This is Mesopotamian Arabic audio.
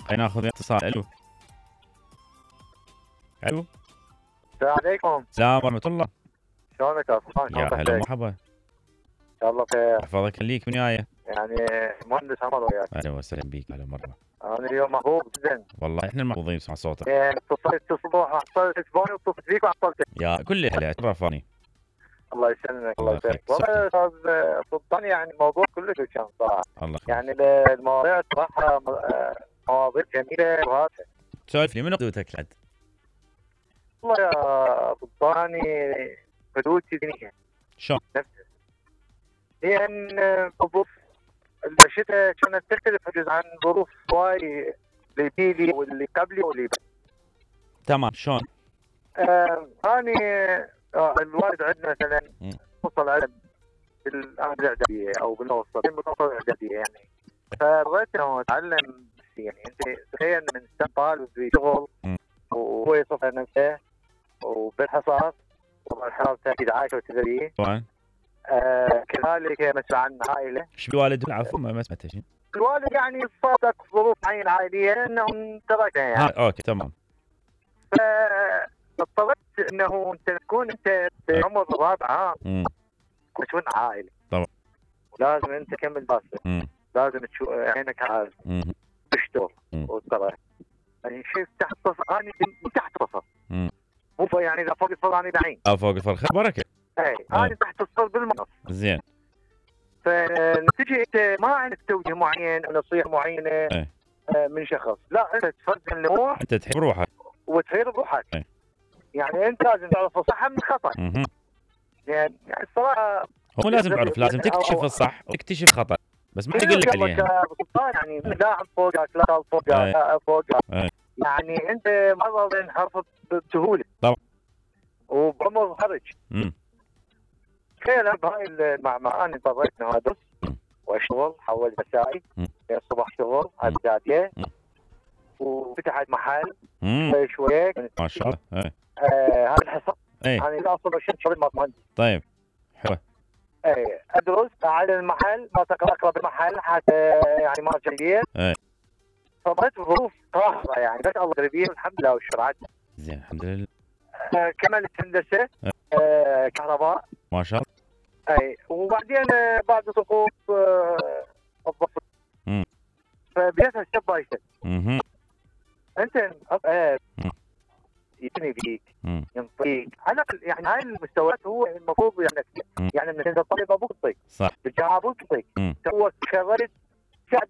خلينا ناخذ اتصال. الو الو السلام عليكم. السلام ورحمة الله. شلونك يا صفوان؟ يا هلا ومرحبا. ان شاء الله خير. يحفظك خليك. من وياي؟ يعني مهندس عمر وياك. اهلا وسهلا بيك. هلا مرحبا. انا اليوم محظوظ جدا. والله احنا المحظوظين نسمع صوتك. اتصلت الصبح وحصلت تليفوني واتصلت فيك وعطلتك. يا كل اهلا ترفاني. الله يسلمك الله يسلمك. والله استاذ سلطان يعني الموضوع كله كان صراحه. الله يعني المواضيع صراحه مواضيع جميله وهادفه. سولف لي من قدوتك لعد؟ والله يا سلطاني قدوتي دينيه. شلون؟ نفسها. هي ان ظروف الشتاء كانت تختلف حجز عن ظروف هواي اللي بيلي واللي قبلي واللي تمام. شلون؟ اني الوالد عندنا مثلا وصل على بالاعداديه او بالمتوسط الاعداديه يعني. فبغيت انه اتعلم يعني انت تخيل من سن طالب في شغل وهو يصف نفسه وبالحصص طبعا حالته اكيد عايشه وتدري طبعا. كذلك مسؤول عن عائله. ايش بالوالد؟ العفو ما سمعت شيء. الوالد يعني صادق ظروف معينه عائليه انهم تركنا يعني. اوكي تمام. فاضطريت انه انت تكون انت بعمر الرابعه مسؤول عائله. طبعا. ولازم انت تكمل دراستك. لازم تشوف عينك عارف تشتغل وتطلع. يعني شيء تحت صفر اني تحت صفر. مو يعني اذا فوق الصفر اني بعين. فوق الصفر خير بركه. اي انا تحت الصفر بالمنص. زين. فنتيجه انت ما عندك توجيه معين او نصيحه معينه من شخص، لا انت تفرد النموح. انت تحب روحك وتغير بروحك. يعني انت لازم تعرف الصح من الخطا. يعني الصراحه هو لازم تعرف، لازم تكتشف الصح وتكتشف خطا، بس ما يقول لك عليه يعني لا فوقك لا فوقك لا فوقك. يعني انت مرض انحرفت بسهوله طبعا وبعمر خرج. تخيل بهاي المعمعة انا اضطريت انه ادرس واشتغل حول مسائي الصبح شغل اعداديه وفتحت محل شويه ما شاء الله. هذا الحصه انا لا اصلا شغل مهندس. طيب حلو. ادرس على المحل ما اقرا بالمحل حتى يعني ما جيد. فضلت ظروف قاهره يعني بس الله قريبين الحمد لله والشرعات. زين الحمد لله. كملت هندسه كهرباء ما شاء الله. وبعدين بعد سقوط الضغط فبديت ستيب باي ستيب. انت يبني بيك ينطيك على يعني هاي المستويات هو المفروض يعني من انت طالب ابوك يعطيك صح بالجامعه ابوك يعطيك تو تخرجت